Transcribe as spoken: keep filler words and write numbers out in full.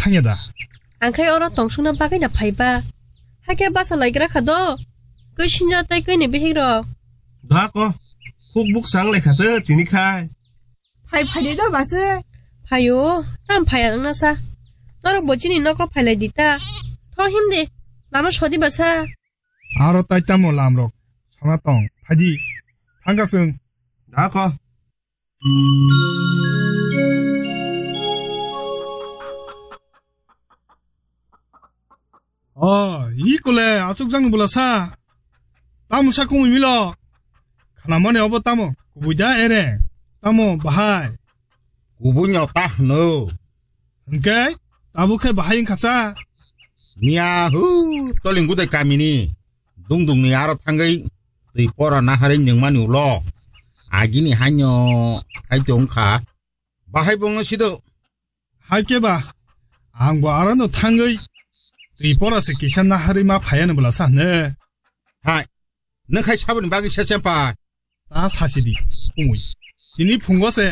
Thangya da? Ang khai oro tongsukna bagwi na phaiba. Hakhe basa laikra kha do. Kwi sinja tei kwi ni bihik rok. Da ko. Khuk buk sang lai kha te tini khai. Phai phai de do basa. Phaio, tam phaiya wngna sa. Norok bo chini noko phailai di ta. Tho him de. Lama sodi basa. Aro tai tamo lamrok sana tong. Phaidi. Thangka chwng. Da ko. O, i kole, aswk jang bwla sa. Tamo sa kumui milo. Khanamani obo tamo, kubui da ere. Tamo bahai. Kubui no ta hwno. Hwnkhe, tabuk khe bahai wngkha sa. Miya hu, toling gudai kamini. Dungdungni aro thangwi twi pora naharwi nungmani ulo. Agini haino hai tongkha. Bahai bongno sido. Hai khe ba, ang bo arano thangwi twi pora se kisa naharwi ma phaya no bwla sa hwne. Hai, nang khai saboni bagwi se chempa. Ta sasi di, kumui. Tini phungo se